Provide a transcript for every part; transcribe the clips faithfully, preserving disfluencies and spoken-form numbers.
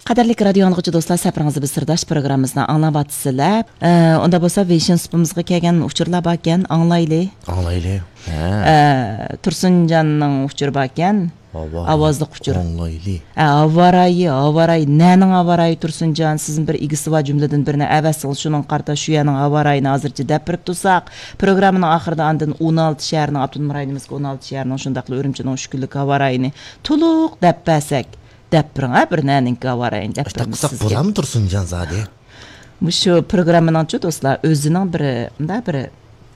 قەدىرلىك رادىيو ئاڭلىغۇچى دوستلار، سەپىرىڭىز بىز سىرداش پروگراممىمىزنى ئاڭلاۋاتىسىلەر. ئە، ئۇندا بولسا ۋېيشىن سۇپىمىزغا كەلگەن ئۇچۇرلار باركەن، ئاڭلايلى. ئاڭلايلى. ھە. ئە، تۇرسۇنجاننىڭ ئۇچۇرى باركەن. ھاۋا. ئاۋازلىق ئۇچۇر. ئاڭلايلى. ئە، ھاۋا رايى، ھاۋا رايى. نەنىڭ ھاۋا رايى تۇرسۇنجان؟ سىزنىڭ بىر ئىگىسى بار، جۈملىدىن بىرنى ئەۋەتسىڭىز، شۇنىڭغا قارىتا شۇ يەرنىڭ ھاۋا رايىنى ھازىرچە دەپ بېرىپ تۇرساق، پروگراممىنىڭ ئاخىرىدا ئاندىن ئون ئالتە شەھەرنىڭ، ئاپتونوم رايونىمىزدىكى ئون ئالتە شەھەرنىڭ، شۇنداقلا ئۈرۈمچىنىڭ ئۈچ كۈنلۈك ھاۋا رايىنى تولۇق دەپ بەرسەك، دەپ بېرىڭ، ھە، بىر نەنىڭكى ھاۋا رايىنى دەپ ئاشۇنداق بېرىمىز قىلساق سىزگە. بولامدۇ تۇرسۇنجان زادى؟ مۇشۇ پروگراممىنىڭچۇ دوستلار، ئۆزىنىڭ بىر، مۇنداق بىر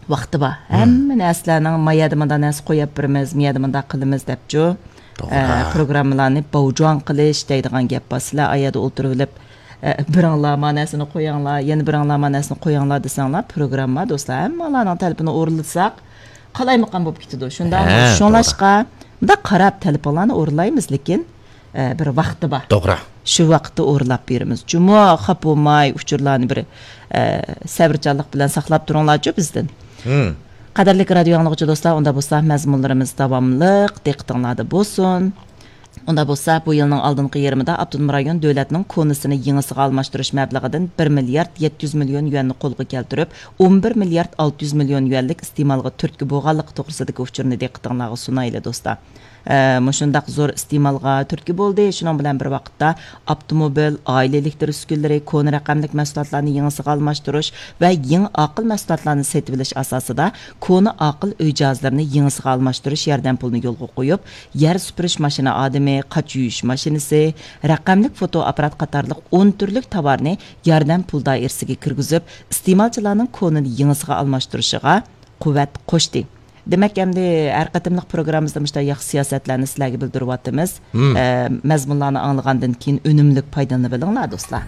ۋاقتى بار. ھەممە نەرسىلەرنىڭ، ما يەردە مۇنداق نەرسە قويۇپ بېرىمىز، ما يەردە مۇنداق قىلىمىز دەپچۇ. توغرا. ئە، پروگراممىلارنى باۋجۇان قىلىش دەيدىغان گەپ بار. سىلەر ئا يەردە ئولتۇرۇۋېلىپ، ئە، بىرىڭلار ما نەرسىنى قويۇڭلار، يەنە بىرىڭلار ما نەرسىنى قويۇڭلار دېسەڭلار، پروگرامما دوستلار، ھەممىڭلارنىڭ تەلىپىنى ئورۇنلىساق، قالايمىقان بولۇپ كېتىدۇ. شۇنداقمۇ؟ ھە، شۇڭلاشقا، مۇنداق قاراپ تەلىپىڭلارنى ئورۇنلايمىز، لېكىن، ئە، بىر ۋاقتى بار. توغرا. شۇ ۋاقىتتا ئورۇنلاپ بېرىمىز. جۇمۇ خاپا بولماي، ئۇچۇرلارنى بىر، ئە، سەۋرچانلىق بىلەن ساقلاپ تۇرۇڭلارچۇ بىزدىن. ھىم. قەدىرلىك رادىيو ئاڭلىغۇچى دوستلار، ئۇندا بولسا مەزمۇنلىرىمىز داۋاملىق دىققىتىڭلاردا بولسۇن. ئۇندا بولسا بۇ يىلنىڭ ئالدىنقى يېرىمىدا ئاپتونوم رايون دۆلەتنىڭ كونىسىنى يېڭىسىغا ئالماشتۇرۇش مەبلىغىدىن بىر مىليارد يەتتە يۈز مىليون يۈەننى قولغا كەلتۈرۈپ، ئون بىر مىليارد ئالتە يۈز مىليون يۈەنلىك ئىستېمالغا تۈرتكە بولغانلىقى توغرىسىدىكى ئۇچۇرنى دىققىتىڭلارغا سۇنايلى دوستلار. ئە، مۇشۇنداق زور ئىستېمالغا تۈرتكە بولدى. شۇنىڭ بىلەن بىر ۋاقىتتا، ئاپتوموبىل، ئائىلە ئېلېكتر ئۈسكۈنىلىرى، كونا رەقەملىك مەھسۇلاتلارنى يېڭىسىغا ئالماشتۇرۇش ۋە يېڭى ئاقىل مەھسۇلاتلارنى سېتىۋېلىش ئاساسىدا، كونا ئاقىل ئۆي جاھازلىرىنى يېڭىسىغا ئالماشتۇرۇش ياردەم پۇلىنى يولغا قويۇپ، يەر سۈپۈرۈش ماشىنا ئادىمى، قاچا يۇيۇش ماشىنىسى، رەقەملىك فوتو ئاپپارات قاتارلىق ئون تۈرلۈك تاۋارنى ياردەم پۇل دائىرىسىگە كىرگۈزۈپ، ئىستېمالچىلارنىڭ كونىنى يېڭىسىغا ئالماشتۇرۇشىغا قۇۋۋەت قوشتى. دېمەك، ئەمدى ھەر قېتىملىق پروگراممىمىزدا مۇشۇنداق ياخشى سىياسەتلەرنى سىلەرگە بىلدۈرۈۋاتىمىز. مم. ئە، مەزمۇنلارنى ئاڭلىغاندىن كېيىن ئۈنۈملۈك پايدىلىنىۋېلىڭلار، دوستلار.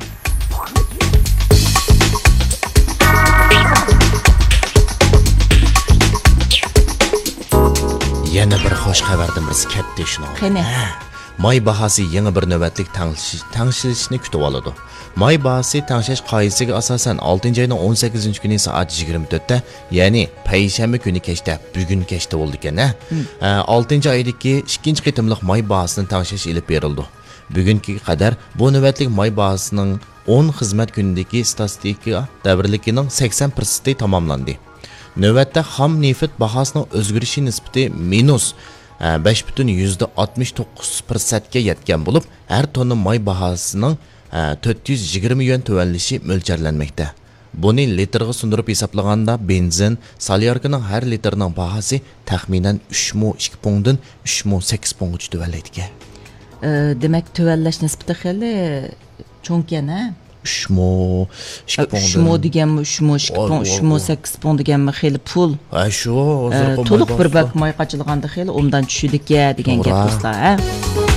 يەنە بىر خوش خەۋەردىن بىرسى كەتتى شۇنىڭ. قېنى؟ ھە. ماي باھاسى يېڭى بىر نۆۋەتلىك تەڭشىشنى كۈتۈۋالىدۇ. ماي باھاسى تەڭشەش قائىدىسىگە ئاساسەن، ئالتىنچى ئاينىڭ ئون سەككىزىنچى كۈنى سائەت يىگىرمە تۆتتە، يەنى پەيشەنبە كۈنى كەچتە، بۈگۈن كەچتە بولىدىكەن، ھە؟ ھە، ئالتىنچى ئايدىكى ئىككىنچى قېتىملىق ماي باھاسىنى تەڭشەش ئېلىپ بېرىلىدۇ. بۈگۈنگە قەدەر بۇ نۆۋەتلىك ماي باھاسىنىڭ ئون خىزمەت كۈنىدىكى ئىستاتىستىكا دەۋرلىكىنىڭ سەكسەن پىرسەنتى تاماملاندى. نۆۋەتتە خام نېفىت باھاسىنىڭ ئۆزگىرىشى نىسبىتى مىنۇس، ھە، بەش پۈتۈن يۈزدە ئاتمىش توققۇز پىرسەنتكە يەتكەن بولۇپ، ھەر توننا ماي باھاسىنىڭ، ھە، تۆت يۈز يىگىرمە يۈەن تۆۋەنلىشى مۆلچەرلەنمەكتە. بۇنى لىتىرغا سۇندۇرۇپ ھېسابلىغاندا، بېنزىن، سولياركىنىڭ ھەر لىتىرىنىڭ باھاسى تەخمىنەن ئۈچ مو ئىككى پۇڭدىن ئۈچ مو سەككىز پۇڭغىچە تۆۋەنلەيدىكەن. ئە، دېمەك، تۆۋەنلەش نىسبىتى خېلى چوڭكەن، ھە؟ ئۈچ مو، ئىككى ئە، ئۈچ پۇڭدىن. مو دېگەنمۇ، ئۈچ مو، ئىككى پۇڭ، ئۈچ مو، سەككىز پۇڭ دېگەنمۇ خېلى پۇل. ئە، شۇ، ئە، ھازىرقى تولۇق ماي بىر باھاسى. بەك ماي قاچىلىغاندا خېلى ئوبدان چۈشىدىكەن دېگەن گەپ، توغرا. دوستلار، ھە؟